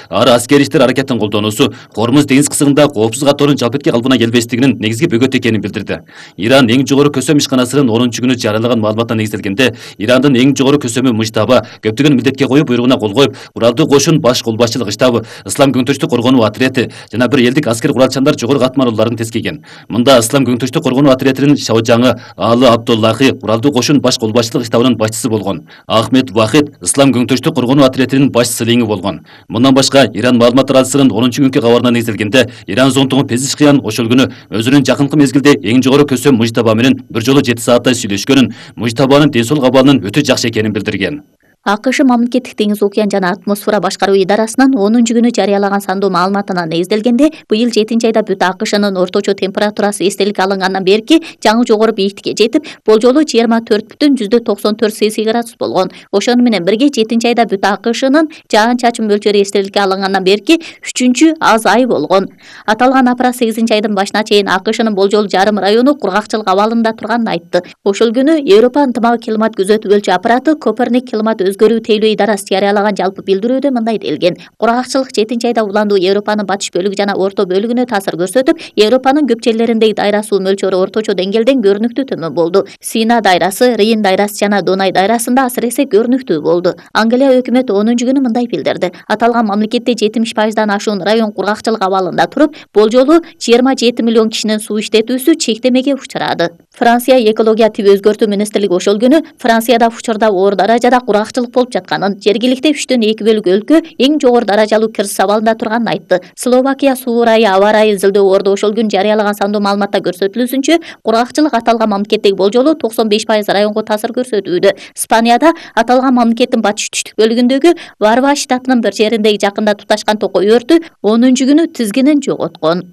ары аскери иштер аракетин колдонуусу Кормуз деңиз кысыгында коопсуз катордун жалпетке калпына келбестигинин негизги бөгөтү экенин билдирди. Иран эң жогору көсөм ишканасынын 10-күнү жарыялаган маалыматына негизделгенде, Ирандын эң жогору көсөмү Мужтаба көптөгөн милдетке коюу буйругуна кол коюп, куралдуу кошун баш колбашчылык штабы, Ислам көңтүчтүк коргонуу отряды жана бир элдик аскер куралчандар жогору катмарлууларын тескейген. Мында Ислам көңтүчтүк коргонуу отрядынын шаужаңы Алы Абдуллахи куралдуу кошун баш колбашчылык штабынын башчысы болгон. Ахмед Вахид Ислам көңтүчтүк коргонуу отрядынын баш силеңи болгон. Мындан башка Иран маалымат аралсынын 10-күнкү кабарына негизделгенде, Иран зонтугу Пезишкиян ошол күнү өзүнүн жакынкы мезгилде эң жогору көсөм Мужтаба менен бир жолу 7 сааттай сүйлөшкөнүн, Мужтабанын ден соолук абалынын өтө жакшы экенин билдирген. АКШ мамлекеттик деңиз океан жана атмосфера башкаруу идарасынын 10-күнү жарыялаган сандуу маалыматына негизделгенде, быйыл 7-айда бүт АКШнын орточо температурасы эстеликке алынгандан берки жаңы жогору бийиктикке жетип, болжолу 24,94 Цельсий градус болгон. Ошону менен бирге 7-айда бүт АКШнын жаан-чачын мөлчөрү эстеликке алынгандан берки 3-чү аз ай болгон. Аталган аппарат 8-айдын башына чейин АКШнын болжол жарым району кургакчылык абалында турганын айтты. Ошол күнү Европа ынтымагы климат күзөтүү өлчү аппараты Коперник климат өзгөрүү тейлөө идарасы жарыялаган жалпы билдирүүдө мындай делген: кургакчылык 7-айда уландуу Европанын батыш бөлүгү жана орто бөлүгүнө таасир көрсөтүп, Европанын көп жерлериндеги дайра суу мөлчөрү орточо деңгээлден көрүнүктүү төмөн болду. Сина дайрасы, Рейн дайрасы жана Дунай дайрасында асыресе көрүнүктүү болду. Англия өкмөтү 10-күнү мындай билдирди: аталган мамлекетте 70%дан ашуун район кургакчылык абалында туруп, болжолу 27 миллион кишинин суу иштетүүсү чектемеге учурады. Франция экология тип өзгөртүү министрлиги ошол күнү Францияда учурда оор даражада кургакчылык болуп жатканын, жергиликте 3/2 бөлүк өлкө эң жогору даражалуу кризис абалында турганын айтты. Словакия суу ырайы аба ырайы изилдөө орду ошол күнү жарыялаган сандуу маалыматта көрсөтүлүүсүнчө, кургакчылык аталган мамлекеттеги болжолу 95% районго таасир көрсөтүүдө. Испанияда аталган мамлекеттин батыш түштүк бөлүгүндөгү Варва штатынын бір жериндеги жакында туташкан токой өртү 10-күнү тизгинин жоготкон.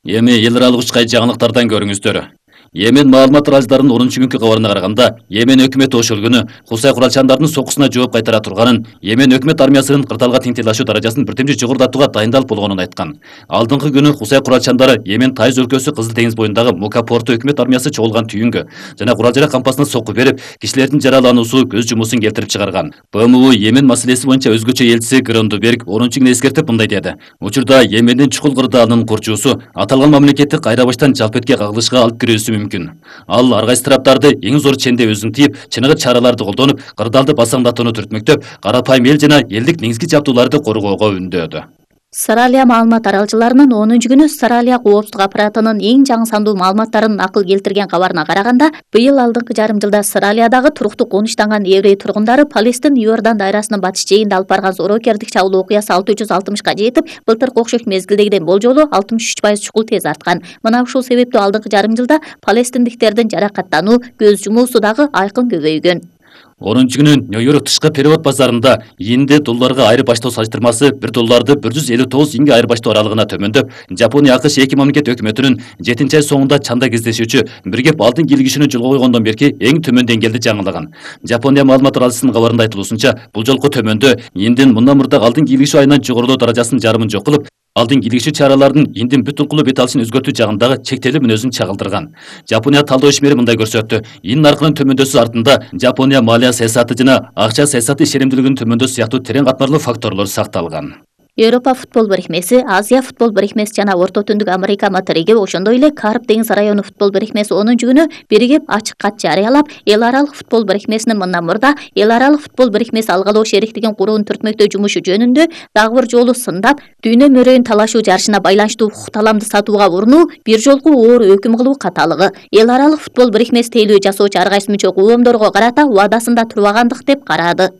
Эми эл аралык учкай жаңылыктардан көрүңүздөр. Йемен маалымат аралдарынын 10-күнкү кабарына караганда, Йемен өкмөтү ошол күнү Хусай куралчандардын сокусуна жооп кайтара турганын, Йемен өкмөт армиясынын кырдаалга теңтелашуу даражасын биртемче жогорулатууга дайындалып болгонун айткан. Алдыңкы күнү Хусай куралчандары Йемен Тайыз өлкөсү Кызыл деңиз боюндагы Мука порту өкмөт армиясы чогулган түйүнгө жана курал-жарак кампасына сокку берип, кишилердин жаралануусу көз жумуусун келтирип чыгарган. БМУ Йемен маселеси боюнча өзгөчө элчиси Грондберг 10-күнү эскертип мындай деди: учурда Йемендин чукул кырдаалынын курчуусу аталган мамлекетти кайра баштан жалпетке кагылышка алып кирүүсү мүмкүн. Ал ар кайсы тараптарды эң зор ченде өзүн тийип, чыныгы чараларды колдонуп, кырдаалды басаңдатууну түртмөктөп, карапайым эл жана элдик негизги жабдууларды коргоого үндөөдү. Саралия маалымат аралчыларынын 10-күнү Саралия коопсуздук аппаратынын эң жаңы сандуу маалыматтарын акыл келтирген кабарына караганда, быйыл алдыңкы жарым жылда Саралиядагы туруктуу конуштанган еврей тургундары Палестин Иордан дайрасынын батыш жээгинде алып барган зоорокерлик чабуул окуясы 660-ка жетип, былтыркы окшош мезгилдегиден болжолу 63% чукул тез арткан. Мына ушул себептүү алдыңкы жарым жылда палестиндиктердин жаракаттануу, көз жумуусу дагы айкын көбөйгөн. 10-күнү Нью-Йорк тышкы перевод базарында иинде долларга айырбаштоо салыштырмасы $1 159 иңге айырбаштоо аралыгына төмөндөп, Жапония АКШ эки мамлекет өкмөтүнүн 7-ай соңунда чанда кездешүүчү бир кеп алдын кийлигишүүнү жолго койгондон берки эң төмөн деңгээлде жаңылаган. Жапония маалымат аралсынын кабарында айтылуусунча, бул жолку төмөндө ииндин мындан мурда алдын кийлигишүү айынан жогорулоо даражасынын жарымын жок кылып, алдын кийлигишүү чаралардын ииндин бүт укулуу бет алышын өзгөртүү жагындагы чектелүү мүнөзүн чагылдырган. Жапония талдоо ишмери мындай көрсөттү: иин наркынын төмөндөсү артында Жапония малия саясаты жана акча саясаты ишенимдүүлүгүнүн төмөндөсү сыяктуу терең катмарлуу факторлор сакталган. Европа футбол бирикмеси, Азия футбол бирикмеси жана Орто Түндүк Америка материги, ошондой эле Карп деңиз району футбол бирикмеси 10-күнү биригип ачык кат жарыялап, эл аралык футбол бирикмесинин мындан мурда эл аралык футбол бирикмеси алгалоо шериктигин курууну түртмөктөө жумушу жөнүндө дагы бир жолу сындап, дүйнө мөрөйүн талашуу жарышына байланыштуу укук таламды сатууга урунуу, бир жолку оор өкүм кылуу каталыгы. Эл аралык футбол бирикмеси тейлөө жасоочу ар кайсы мүчө коомдорго карата убадасында турбагандык деп карады.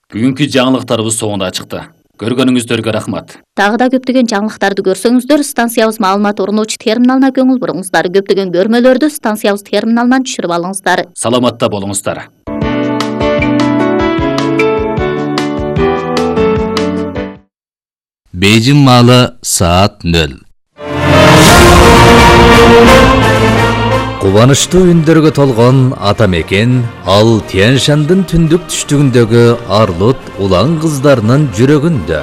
Бүгүнкү жаңылыктарыбыз соңунда чыкты. Көргөнүңүздөргө рахмат. Дагы да көптөгөн жаңылыктарды көрсөңүздөр, станциябыз маалымат орночу терминалына көңүл буруңуздар. Көптөгөн көрмөлөрдү станциябыз терминалынан түшүрүп алыңыздар. Саламатта болуңуздар. Бейжин маалы саат 0. Кубанычтуу үндөргө толгон ата мекен ал Тянь-Шандын түндүк түштүгүндөгү арлут улан кыздарынын жүрөгүндө.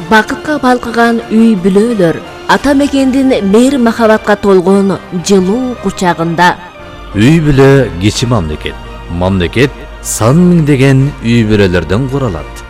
Бакытка балкыган үй бүлөлөр ата мекендин мейир махабатка толгон жылуу кучагында. Үй бүлө кичи мамлекет. Мамлекет сан миңдеген үй бүлөлөрдөн куралат.